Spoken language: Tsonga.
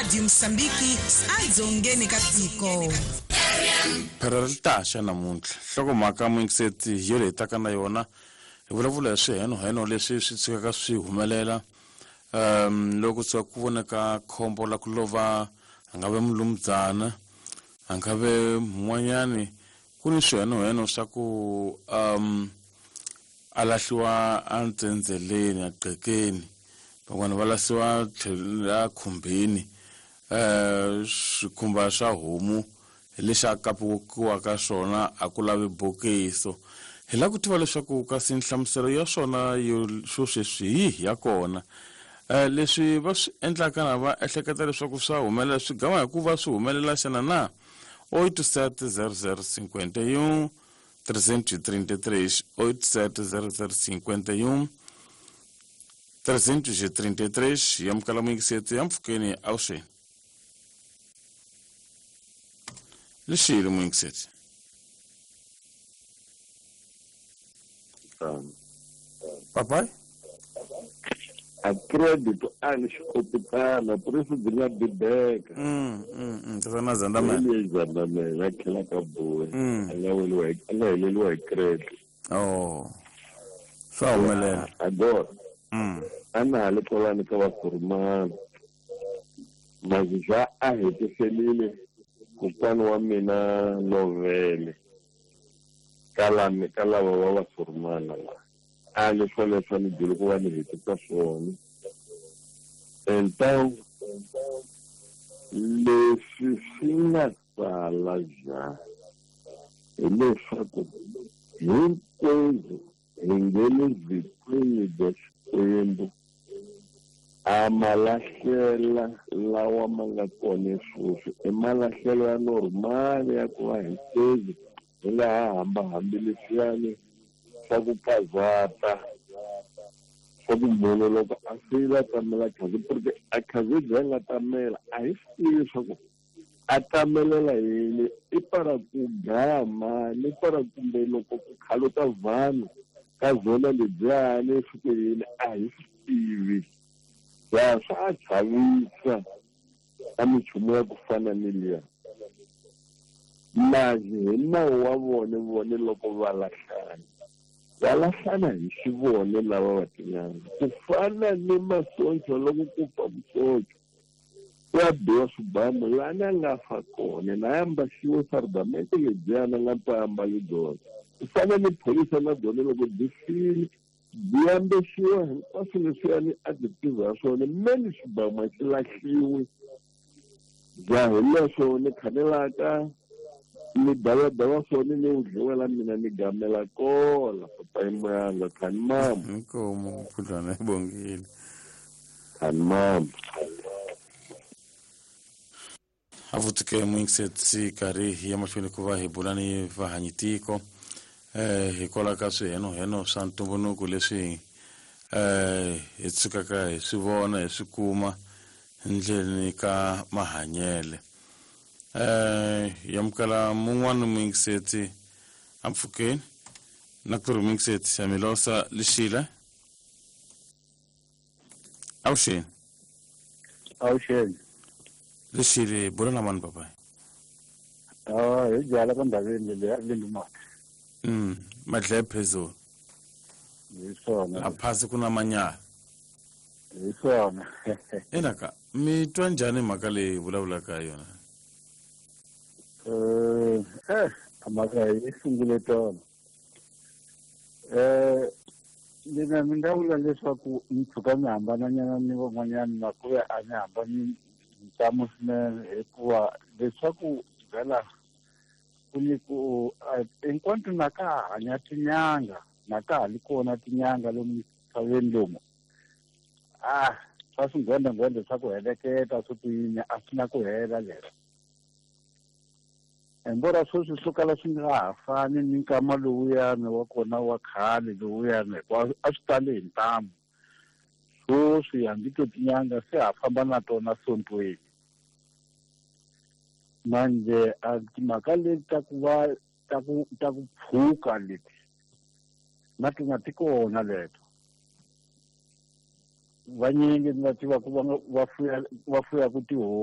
Radio Mosambiki adzongeni ka tiko. Phera ri ta xa namuntlha nhlokomhaka muyingiseti yo leyi taka na yona hi vulavula hi swihenoheno leswi swi tshukaka swi humelela loko tshuka ku voneka khombo la ku lova a nga ve mulumdzana a nga ve mun'wanyani ku ni swihenoheno swa ku a lahliwa entsendzeleni a qhekeni van'wana va lahliwa tlhelo khumbini swikhumba swa homu hi lexi a kapiwaka swona a ku lavi bokiso hi lava ku tiva leswaku kasi nhlamuselo ya swona yo swo sweswi hi yihi ya kona leswi va swi endlaka na va ehleketa leswaku swa humelela swi gama hi ku va swi humelela xana na 87 00 51 333 87 00 51 333 yamukela muyingiseti ya mpfhukeni avuxeni lexile muyingiseti papai a credit a ni xikopitana president ya bibeka tatana Zandamela Zandamela a tlhela ka boy a nga weliwa a nga heleliwa hi credit oh swa humelela agora a na ha le kwalani ka vasurumana mazizwa a hetiselile kokwana wa mina lovele ka lami ka lava va vasurumana la a le swoleswo ni byele ku va ni hetisa swona então leswi swi nga sala ja hileswaku hinkwenu hi nge le vhikweni bya Xikwembu a malahlela lawa ma nga kona sweswi i malahlelo ya normal ya ku va hinkwenu hi nga ha hambahambi leswiyani swa ku pazata swa ku munhu loko a file a tamela khazi porque a khazi byi a nga tamela a hi swi tivi leswaku a tamelela yini i para ku dlaya mani i para kumbe loko ku khaluta vanhu ka zona lebyiyani swi ku yini a hi swi tivi ya swa chavisa a minchumu ya ku fana ni liya manje hi nawu wa vona vone loko va lahlana va lahlana hi xivone lava va tin'anga ku fana ni masoncho loko ku fa musoncho ku ya biwa swibamu lani a nga fa kona na ya ambaxiwe sardamente lebyiyani a nga ta ambali byona ku fana ni pholisa na byona loko byi file byi ambexiwa hinkwaswo leswiyani a byi tiva swona meni xibamu a xi lahliwi bya hi leswo ni khanelaka ni davadava swona ni wu dliwela mina ni gamela kola papayi moyanga khani mama inkomo phudlwana ibongile khani mama avutike muyingiseti karhi hi ya mahlweni ku va hi bula ni vahanyitiko hikwalaho ka swihenoheno swa ntumbuluko leswi hi tshukaka hi swi vona hi swi kuma ndleleni ka mahanyele yamukela mun'wana muyingiseti ampfhukeni na ku ri muyingiseti ya milosa lixile avuxeni avuxeni lexile bula na mani papai hi byala ka ndhaveni leyi lindumati madlaya phezulu hi swona a phasi ku na manyala hi swona enaka mi twa njhani mhaka leyi vulavulaka hi yona mhaka yi sungule tona mina ni nga vula leswaku ni tshuka ni hambananyana ni van'wanyana na ku ve a ni hambani ntamu swinene hikuva leswaku vhela ku ni ku hinkwato na ka ha hanya tinyanga na ka ha li kona tinyanga lomu misaveni lomu a swa swingwendengwende swa ku heleketa swo ku yini a swi na ku hela lero embora sweswi swo kala swi nga ha fani ni nkama lowuyani wa kona wa khale lowuyani hikuva a swi tali hi ntamu sweswi hambi to tinyanga se ha famba na tona sontweni manje a timhaka leti ta ku va ta ku pfuka leti na tona ti kona leto vanyingi ni va tiva ku va fuyaku tihomu.